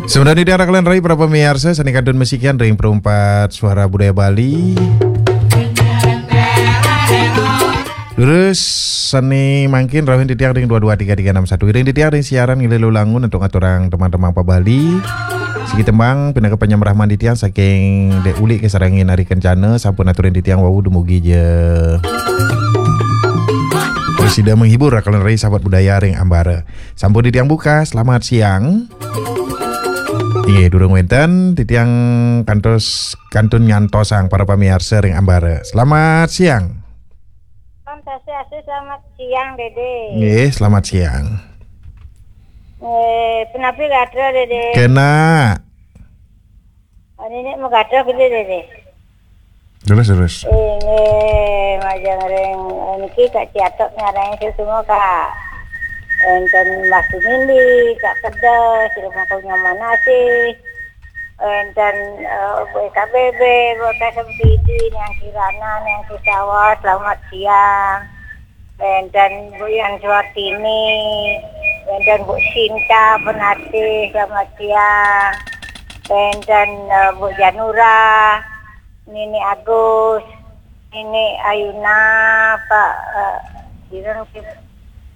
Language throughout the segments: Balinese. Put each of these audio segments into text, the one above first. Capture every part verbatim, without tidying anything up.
Sebenarnya di arah kalian rai para pemirsa, sani kantun masikian ring Perumpat Suara Budaya Bali. Terus sani mangkin rauhin titiang ring dua dua tiga tiga enam satu. Ring titiang ring siaran ngilu langun untuk ngaturang teman-teman pa Bali. Siki tembang pinaka panyambrahman titiang saking Dek Uli ke sareng Nari Kencana sampun aturin titiang wau dumugi ja. Terus sida menghibur kalian rai sahabat budaya ring ambara. Sampun titiang buka, selamat siang. Inggih, durung wenten, titiang kantos kantun nyantosang para pamiarsa ring ambara. Selamat siang. Om Swastiastu, selamat siang, Dede. Nggih, selamat siang. Eh, punapi gatra, Dede? Kena. Ini nih mau gatra gede, Dede. Terus, terus. Inggih, majeng ring, eh, niki Kak Ciatok nyarangi semua, Kak. Enten Mas Mindi, Kak Kedes, rumah punya mana sih? Enten, eh, Bu K B B, Bu K S M P D, yang Kirana, yang Kisawa, selamat siang. Enten Bu Yan Suartini, enten Bu Sinta Penatih, selamat siang. Enten, eh, Bu Janura, Nini Agus, Nini Ayuna, Pak, eh, Dirun Kim-,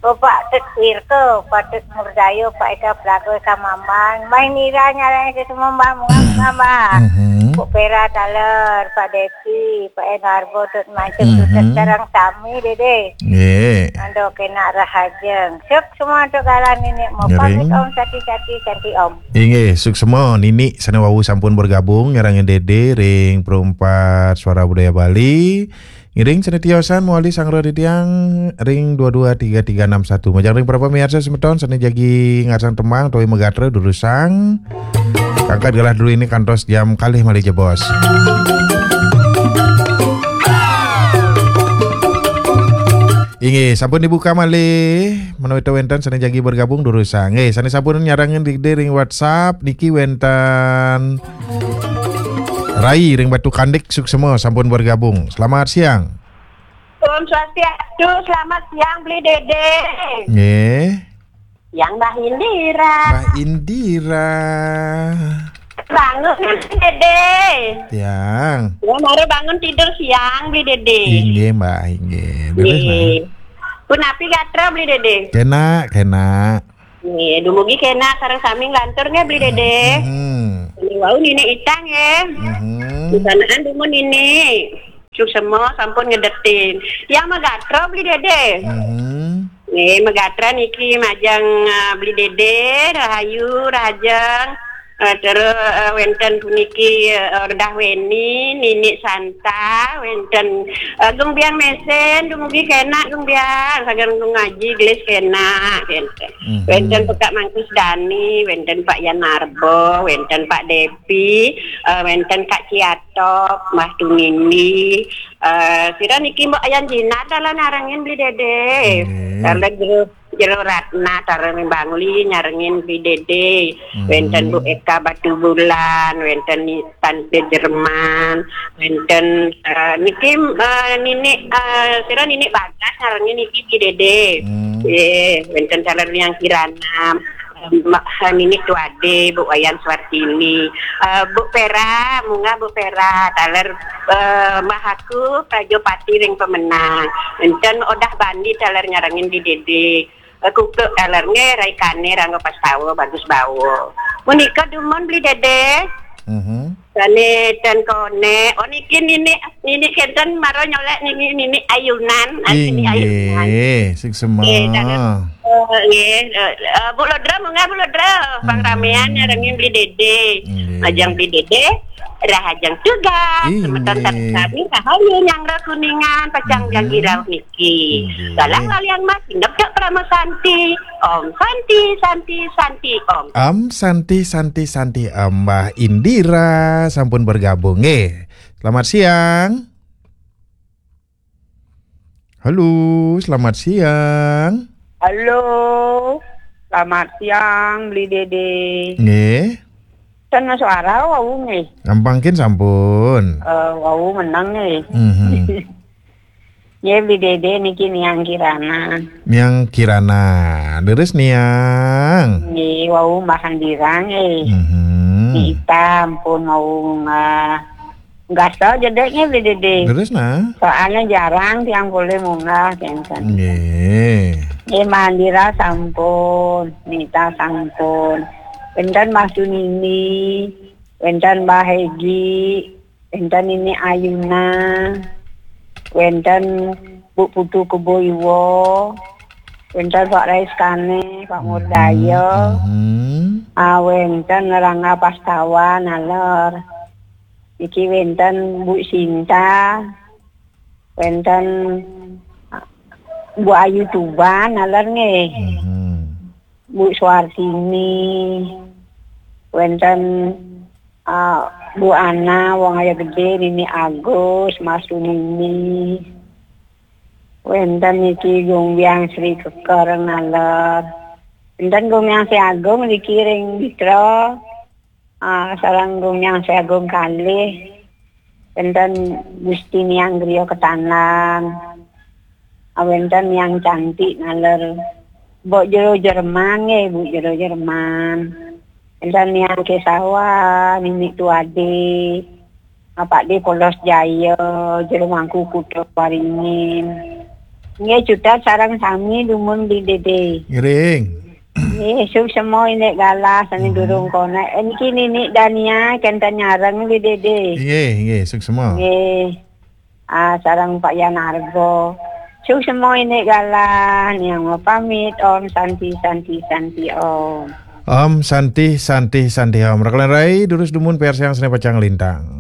oh, Pak Tut Wirko, Pak Tut Murdayo, Pak Eka Prago, Eka Mambang, Mbah Nira nyarane semua Mbah, Mbah, Mbah. Mhm. Bu Pera Taler, Pak Desi, Pak Enarbo, Tut Mancung, Tut Mhm. Sarang sami, Dede. Nggih. Ando kena rahajeng. Suk semua untuk galan ini. Mau pamit, Ngiring. Om, sati-sati, santi, Om. Inggih, suksma Nini sane wau sampun bergabung nyarengin Dede ring Perumpat Suara Budaya Bali. Ngiring sane tiosan mawali sanggra titiang ring dua dua tiga tiga enam satu. Majeng ring para pamiarsa semeton sane jagi ngarsang tembang utawi magatra durusang. Kangkat galah dulu ini kantos jam kalih malih jebos. Inggih, sampun dibuka malih. Menawi wenten sane jagi bergabung durusang. Nggih, sane sampun nyarengin Dede ring WhatsApp niki wenten Rai ring Batu Kandik, suksma sampun bergabung. Selamat siang. Om Swastiastu, selamat siang, Beli Dede. Nggih. Yang Mbah Indira. Mbah Indira. Bangun, Beli Dede. Tiang. Ya, baru bangun tidur siang, Beli Dede. Inggih, Mbah, inggih. Terus, Mbah. Nggih. Punapi gatra, Beli Dede? Kena, kena. Nggih, dumugi kena sareng sami nglantur nggih, Beli Dede. Mhm. Ini wau Nini Itang nggih. Mhm. Di sanaan dumun Nini. Suksma sampun ngedetin. Yang magatra, Beli Dede. Mhm. Nggih, magatra niki majeng, eh, Beli Dede, rahayu, rahajeng. Eh, terus, eh, wenten puniki, eh, Ordah Weni, Nini Santa, wenten, eh, Gung Biang Mesen, dumugi kena Gung Biang, sagan Gung Aji, gelis kena, wenten. Mhm. Wenten Pekak Mangkus Dani, wenten Pak Yan Narbo, wenten Pak Depi, eh, wenten Kak Ciatok, Mbah Tunindi, eh, sira niki Mbok Ayan Jinar dalan nyarengin Beli Dede. Nggih. Dalan jero, jero Ratna, sareng Bangli nyarengin Beli Dede. Mhm. Wenten Bu Eka Batu Bulan, wenten ni-, Tante Jerman, wenten, eh, niki, eh, Nini, eh, sira Nini Bagas nyarengin niki Beli Dede. Hmm. Nggih, wenten sareng Yang Kirana. Mbak Nini Tuade, Bu Wayan Suartini, eh, Bu Pera, munggah Bu Pera, taler, eh, Mbah Aku, Prajopati ring Pemenang. Enten Odah Bandi taler nyarengin Beli Dede. Eh, Kuku taler nggih, Rai Kane, Rangga Pastawa, Bagus Bawo. Punika dumun Beli Dede. Mhm. Sane ten kone, oh niki Nini, Nini kenten mara nyolek Nini, Nini Ayunan, ah, Nini Ayunan. Inggih, suksma. Nggih, dados, eh, nggih, eh, eh, Bu Lodra, munggah Bu Lodra, pang ramean nyarengin Beli Dede. Nggih. Majeng Beli Dede, rahajeng tugas, semeton sareng sami rahayu nyanggra Kuningan, pacang jagi rauh niki. Nggih. Galang laliang mas, indep dak Parama Santi. Om Santi, Santi, Santi, Om. Om Santi, Santi, Santi, Om. Mbah Indira sampun bergabung. Nggih. Selamat siang. Halo, selamat siang. Halo. Selamat siang, Beli Dede. Nggih. Ten suara wau nggih. Ampangkin sampun. Eh, wau menang nggih. Mhm. Nggih, Bli Dede niki Niang Kirana. Niang Kirana. Leres, Niang. Nggih, wau mbahan dirang, eh. Mhm. Nita ampun wau nga-, nggasa jedek nggih, Bli Dede. Leres, nah. Soalnya jarang tiang boleh munggah, kenten. Nggih. Nggih, Mandira sampun, Nita sampun. Wenten Mbah Sunini, wenten Mbah Hegi, wenten Nini Ayuna, wenten Bu Putu Kebo Iwa, wenten Pak Rais Kane, Pak Murdaya, mhm. Ah, wenten Rangga Pastawan, naler. Iki wenten Bu Sinta, wenten, ah, Bu Ayu Tuban, naler nggih. Mhm. Bu Suartini, wenten, ah, Bu Ana, Wong Aya Gede, Nini Agus, Mas Sunini. Wenten niki Gumbyang Sri Keker, naler. Wenten Gumbyang Sri Agung niki ring Bitra. Ah, sareng Gumbyang Sri Agung kalih. Wenten Gusti Niang Griya Ketandan. Ah, wenten Niang Cantik, naler. Mbok Jero Jerman nggih, Bu Jero Jerman. Wenten Niang Kesawa, Nini Tuade. Pak De Polos Jaya, Jero Mangku Kuta Waringin. Nggih, cutet sareng sami dumun, Bli Dede. Ngiring. Nggih, suksma indik galah sane, mhm, durung konek. Eh, niki Nini Dania, kenten nyareng, Bli Dede. Nggih, nggih, suksma. Nggih. Ah, sareng Pak Yan Argo. Suksma indik galah, Niang pamit. Om Santi, Santi, Santi, Om. Om Santi, Santi, Santi, Om. Raka lan rai, durus dumun piarsayang sane pacang lintang.